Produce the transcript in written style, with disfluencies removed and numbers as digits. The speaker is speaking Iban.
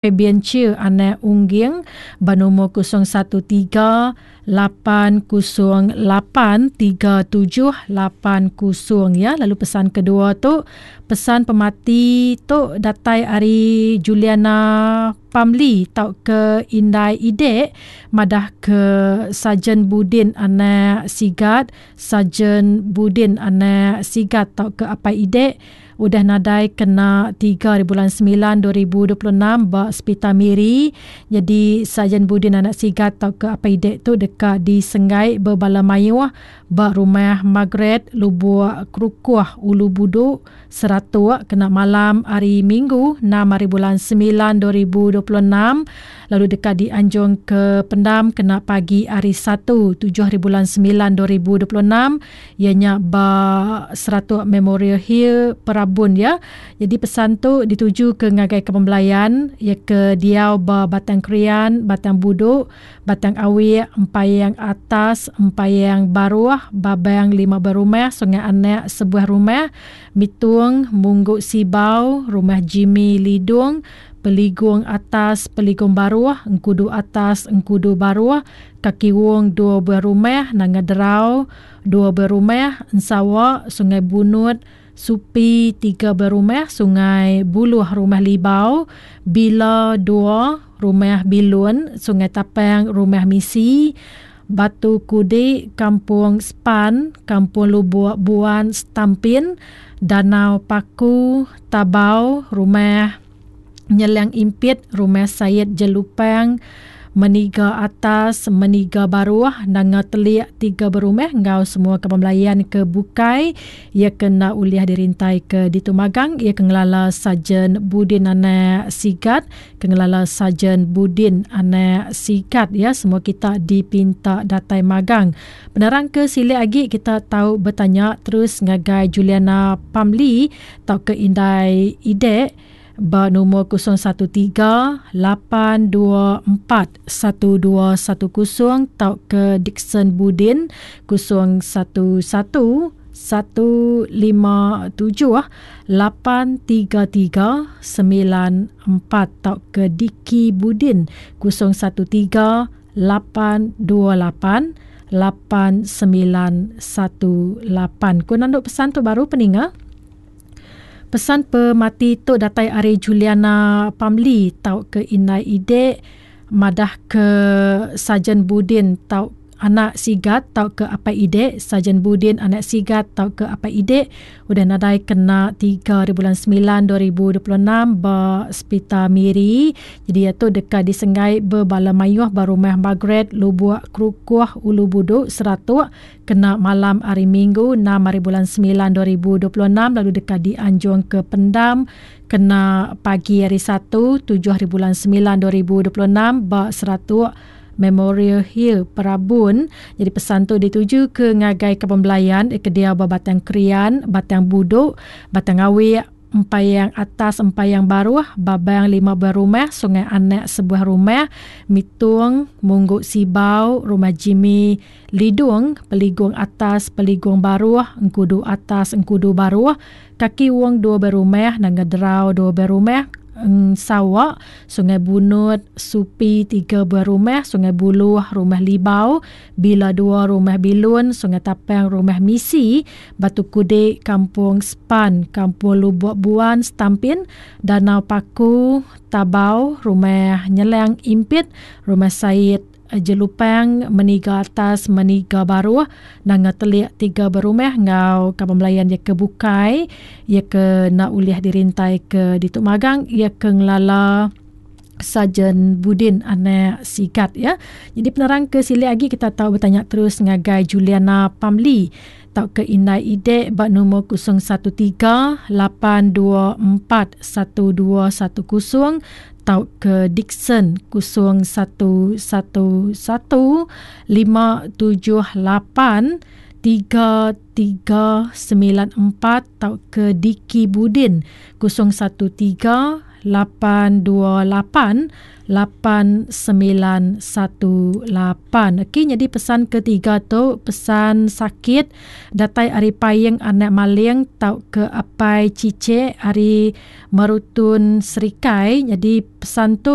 Fabian Cheer anak Ungging ba numur 013 808 3780 ya. Lalu pesan kedua tu, pesan pemati tu datai ari Juliana Pamli tauka Indai Idek madah ke Sarjan Budin anak Sigat, Sarjan Budin anak Sigat tauka Apai Idek udah nadai kena 3 hari bulan 9 2026 ba Sepital Miri. Nyadi Sarjan Budin anak Sigat tauka Apai Idek tu deka disenggai bebala mayuh ba Rumah Margaret Lubuk Kerukuh Ulu Budu Seratuk kena malam hari Minggu 6 hari bulan 9 2026 lalu deka dianjung ke pendam kena pagi hari Satu 7 hari bulan 9 2026 iya nya ba Seratuk Memorial Hill Perabun ya. Jadi pesan tu dituju ke ngagai ke pembelayan iya ke diau ba Batang Krian, Batang Budu, Batang Awik, Empayang Atas, Empayang Baruh, Babang lima buah rumah, Sungai Anak sebuah rumah, Mitung, Munggu Sibau, Rumah Jimmy Lidung, Peligung Atas, Peligung Baruh, Engkudu Atas, Engkudu Baruh, Kaki Wong dua buah rumah, Nanga Derau dua buah rumah, Ensawa, Sungai Bunut, Supi tiga buah rumah, Sungai Buluh Rumah Libau, Bila dua, Rumah Bilun, Sungai Tapang Rumah Misi, Batu Kudi, Kampung Span, Kampung Lubuk Buan Stampin, Danau Paku, Tabau, Rumah Nyelang Impit, Rumah Sayed Jelupang, Meniga Atas, Meniga Baruh, Nanga Telik tiga berumah enggau semua kaban belayan ke bukai iya ke enda ulih dirintai ke ditu magang iya ke ngelala Sarjan Budin anak Sigat ke ngelala Sarjan Budin anak Sigat ya semua kita dipinta datai magang. Penerang ke silik agi kita tau betanya terus ngagai Juliana Pamli tauka Indai Idek ba numur 013 824 1210 tauka Dickson Budin 011 157 833 94 tauka Dicky Budin 013 828 8918. Ku nandu pesan tu baru peninga. Pesan pemati tu datai ari Juliana Pamli tauka Indai Idek madah ke Sarjan Budin tau anak Sigat tauka Apai Idek, Sarjan Budin anak Sigat tauka Apai Idek udah nadai kena 3 hari bulan 9 2026 ba Sepital Miri. Jadi iya tu deka disenggai bebala mayuh ba Rumah Margaret Lubuk Kerukuh Ulu Budu Seratuk Kena malam hari Minggu enam hari bulan semilan 2026 lalu deka dianjung ke pendam kena pagi hari Satu tujuh hari bulan semilan 2026 ba Seratuk Memorial Hill Perabun. Jadi pesan tu dituju ke ngagai kaban belayan ke diau ba Batang Krian, Batang Buduk, Batang Awik, Empayang Atas Empayang Baruh, Babang lima buah rumah, Sungai Anak sebuah rumah, Mitung, Munggu Sibau, Rumah Jimmy Lidung, Peligung Atas Peligung Baruh, Engkudu Atas Engkudu Baruh, Kaki Wong dua buah rumah, Nanga Derau dua buah rumah, Sawa, Sungai Bunut, Supi tiga buah rumah, Sungai Buluh, Rumah Libau, Bila dua Rumah Bilun, Sungai Tapang Rumah Misi, Batu Kudik, Kampung Span, Kampung Lubok Buan, Stampin, Danau Paku, Tabau, Rumah Nyelang Impit, Rumah Said, Jelupang, Meniga Atas, Meniga Baruh, Nanga Telik tiga berumah enggau kaban belayan iya ke bukai iya ke enda ulih dirintai ke ditu magang iya ke ngelala Sarjan Budin anak Sigat ya. Jadi penerang ke silik agi kita tau betanya terus ngagai Juliana Pamli tauka Indai Idek ba numur 013 824 1210 tauka Dickson 0111 578 3394 tauka Dicky Budin 013. 828 8918. Okey, nyadi pesan ketiga tu pesan sakit datai ari Paing Anak Maling tauka Apai Chichek ari Merutun Serikai. Nyadi pesan tu.